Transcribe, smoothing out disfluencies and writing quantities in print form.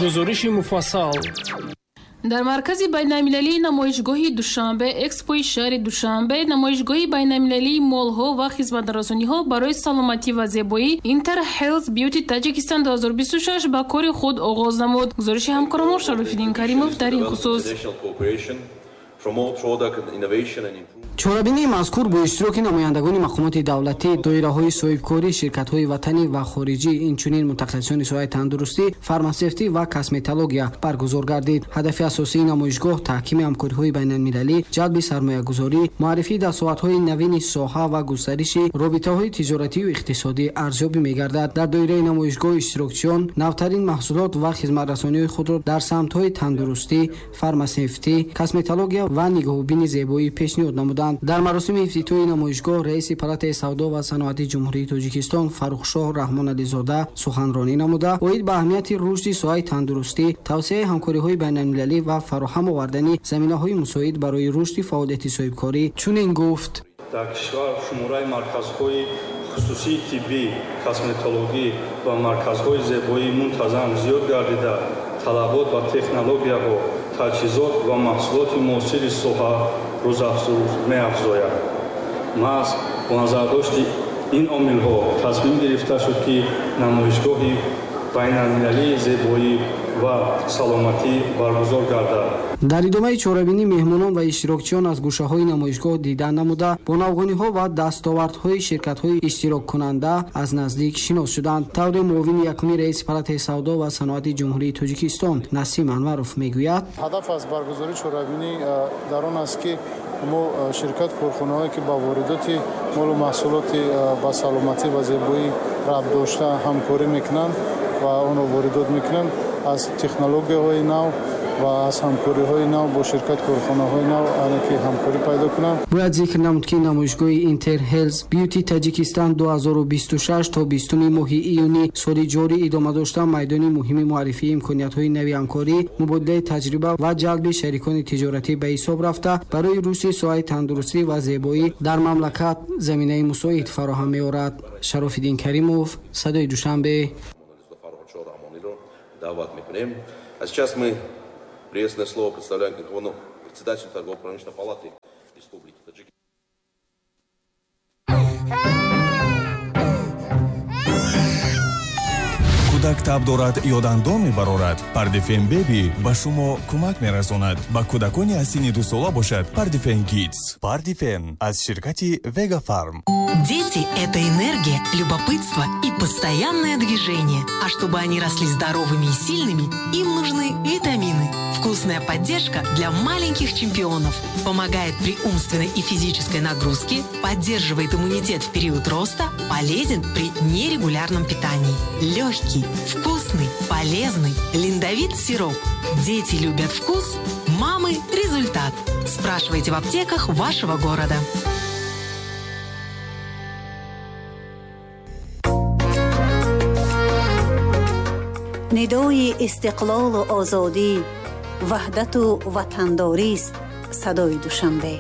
Гузориши муфассал. Дар маркази байналмилалии намоишгоҳи Душанбе Экспои шаҳри Душанбе намоишгоҳи байналмилалии молҳо ва хизматрасониҳо барои саломатӣ ва зебоӣ Inter Health Beauty Таҷикистон 2026 ба кори худ оғоз намуд. Гузориши ҳамкоромон Шарофиддин Каримов дар ин хусус. Чорабинии мазкур бо иштироки намояндагони мақомоти давлатӣ, доираҳои соҳибкорӣ, ширкатҳои ватанӣ ва хориҷӣ, инчунин мутахассисони соҳаи тандурустӣ, фармасевтӣ ва косметология баргузор гардид. Ҳадафи асосии намоишгоҳ таҳкими ҳамкориҳои байналмилалӣ, ҷалби сармоягузорӣ, муаррифии дастовардҳои навини соҳа ва густариши робитаҳои тиҷоратию иқтисодӣ арзёбӣ мегардад. Дар доираи намоишгоҳ иштирокчиён навтарин маҳсулот ва хизматрасониҳои худро дар самтҳои тандурустӣ, фармасевтӣ, косметология ва нигоҳубини зебоӣ пешниҳод намуданд. Дар маросими ифтитоҳи намоишгоҳ раиси Палатаи савдо ва саноати Ҷумҳурии Тоҷикистон Фаррухшоҳ Раҳмонализода суханронӣ намуда, оид ба аҳамияти рушди соҳаи тандурустӣ, тавсеаи ҳамкориҳои байналмилалӣ ва фароҳам овардани заминаҳои мусоид барои рушди фаъолияти соҳибкорӣ чунин гуфт. Дар кишвар шумораи марказҳои хусусии тиббӣ, косметологӣ ва марказҳои зебоӣ мунтазам зиёд гардида, талабот ба технологияҳо, таҷҳизот ва маҳсулоти муосири соҳа рӯзафзун меафзояд. Маҳз бо назардошти ин омилҳо тасмим гирифта шуд, ки намоишгоҳи байналмилалии зебоӣ ва саломатӣ баргузор гардад. Дар идомаи чорабинӣ меҳмонон ва иштирокчиён аз гӯшаҳои намоишгоҳ дида намуда, бо навгониҳо ва дастовардҳои ширкатҳои иштироккунанда аз наздик шинос шуданд. Тавре муовини якуми раиси Палатаи савдо ва саноати Ҷумҳурии Тоҷикистон Насим Анваров мегӯяд: ҳадаф аз баргузории чорабинӣ дар он аст, ки мо ширкат корхонаҳое, ки ба воридоти молу маҳсулоти ба саломатӣ ва зебоӣ рабт дошта ҳамкорӣ мекунанд ва онро воридот мекунанд, аз технологияҳои нав ва аз ҳамкориҳои нав бо ширкат корхонаҳои нав ки ҳамкорӣ пайдо кунанд. Бояд зикр намуд, ки намоишгоҳи Inter Health Beauty Таҷикистон 2026 то 20 моҳи июни соли ҷорӣ идома дошта, майдони муҳими муаррифии имкониятҳои нави ҳамкорӣ, мубодилаи таҷриба ва ҷалби шарикони тиҷоратӣ ба ҳисоб рафта, барои рушди соҳаи тандурустӣ ва зебоӣ дар мамлакат заминаи мусоид фароҳам меорад. Шарофиддин Каримов, Садои Душанбе. Даъват мекунем. А сейчас мы приветственное слово представляем председателю Торгово-промышленной палаты Республики Таджикистан. Кӯдак таб дорад ё дандон мебарорад, Пардифен Беби ба шумо кӯмак мерасонад. Ба кӯдакони аз синни 2 сола бошад Пардифен Кидс. Пардифен аз ширкати Вега Фарм. Дети – это энергия, любопытство и постоянное движение. А чтобы они росли здоровыми и сильными, им нужны витамины. Вкусная поддержка для маленьких чемпионов. Помогает при умственной и физической нагрузке, поддерживает иммунитет в период роста, полезен при нерегулярном питании. Легкий, вкусный, полезный. Линдовит сироп. Дети любят вкус, мамы – результат. Спрашивайте в аптеках вашего города. Нидои истиқлолу озодӣ, ваҳдату ватандорист садои Душанбе.